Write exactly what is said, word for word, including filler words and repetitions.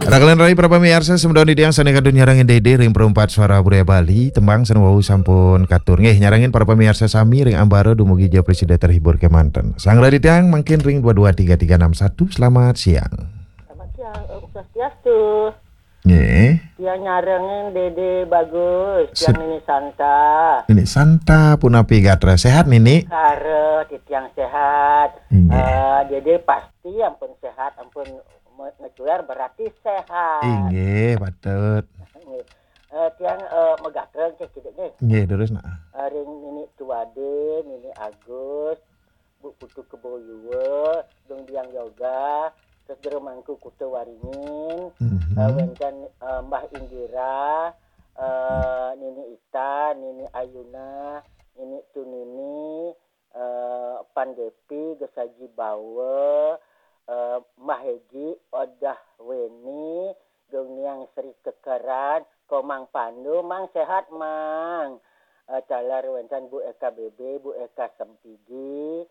Rakelan rayi para pamiarsa, semeton titiang sané kantun nyarengin Dédé ring Perempat Suara Budaya Bali, tembang sané wau sampun katur. Nggih, nyarengin para pamiarsa sami ring ambara dumugi ja prasida terhibur kemanten. Sang rayi titiang mangkin ring dua dua tiga tiga enam satu. Selamat siang. Selamat siang, Om Swastiastu. Nggih. Tiang nyarengin Dédé Bagus, tiang Nini Santa. Nini Santa, punapi gatra, sehat, Nini? Kara, titiang sehat. Nggih. Eh, Dédé pasti ampun sehat, ampun me-, ngecuer berarti sehat. Inggih, patut. Nggih. Eh, tiang, eh, magatra cek kidik nggih. Nggih, terus nak. Eh, ring Nini Tuade, Nini Agus, Bu Putu Kebo Yuwa, Dong Biang Yoga, terus Jero Mangku Kuta Waringin, Mhm. Eh, wénten, eh, Mbah Indira, eh, Nini Ita, Nini Ayuna, Nini Tunini, eh, Pan Depi, Gesaji Bawa, eh, Mbah Egi, Odah Weni, Dong Niang Sri Kekeran, Komang Pandu, Mang sehat, Mang. Eh, taler wénten Bu Eka B B, Bu Eka Sempidi,